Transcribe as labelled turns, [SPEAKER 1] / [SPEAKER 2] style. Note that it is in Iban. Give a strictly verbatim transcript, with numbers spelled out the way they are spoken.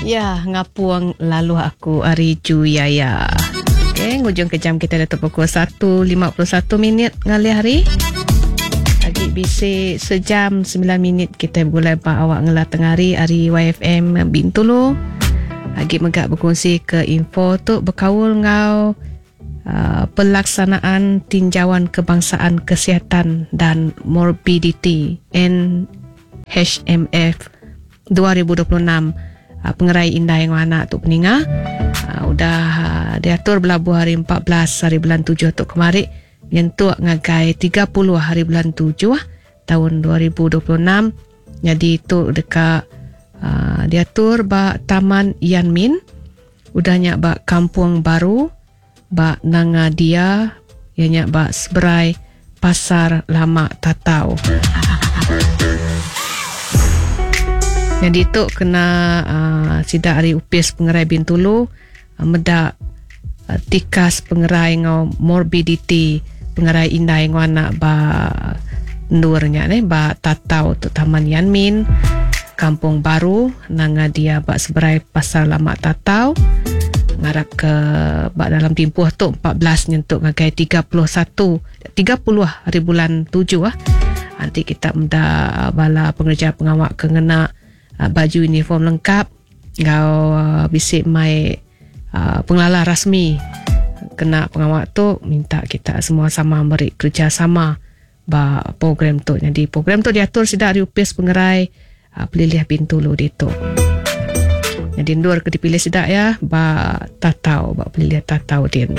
[SPEAKER 1] Ya, ngapung lalu aku ari Juyaya. Okey, ngujung ke jam kita dah pukul satu lima puluh satu minit ngalih hari. Agi bisi sejam sembilan minit kita bergulai ba awak ngelah tengah hari ari Y F M Bintulu. Agi megak berkongsi ke info tu berkaul ngau uh, pelaksanaan tinjauan kebangsaan kesihatan dan morbiditi N H M F dua ribu dua puluh enam. Uh, pengerai indai ngau anak tu peninga. Uh, udah uh, diatur belabuh hari empat belas hari bulan tujuh tu kemari nyentuk ngagai tiga puluh hari bulan tujuh tahun dua ribu dua puluh enam. Jadi tu dekat uh, diatur ba Taman Yanmin, udahnya ba Kampung Baru, ba Nanga Dia, ianya ba Seberai Pasar Lama Tatau. Jadi tu kena uh, sidak hari upis pengerai Bintulu uh, medak uh, tikas pengerai ngau morbiditi pengerai indai ngau anak ba ndurnya ne ba Tatau tu Taman Yanmin, Kampung Baru, Nanga Dia ba Seberai Pasar Lama Tatau. Ngarap ke ba dalam timpuh tu empat belas nyentuk ngagai tiga puluh satu, tiga puluh hari bulan tujuh ah. Nanti kita menda bala pengerja pengawak ke ngena baju uniform lengkap ngau bisik mai uh, pengelala rasmi kena pengawak tu, minta kita semua sama beri kerjasama ba program tu. Jadi program tu diatur sidak di upis pengerai uh, Pelilih Bintulu ditu. Jadi ndur ke dipilih sidak ya ba Tatau, ba Pelilih Tatau din.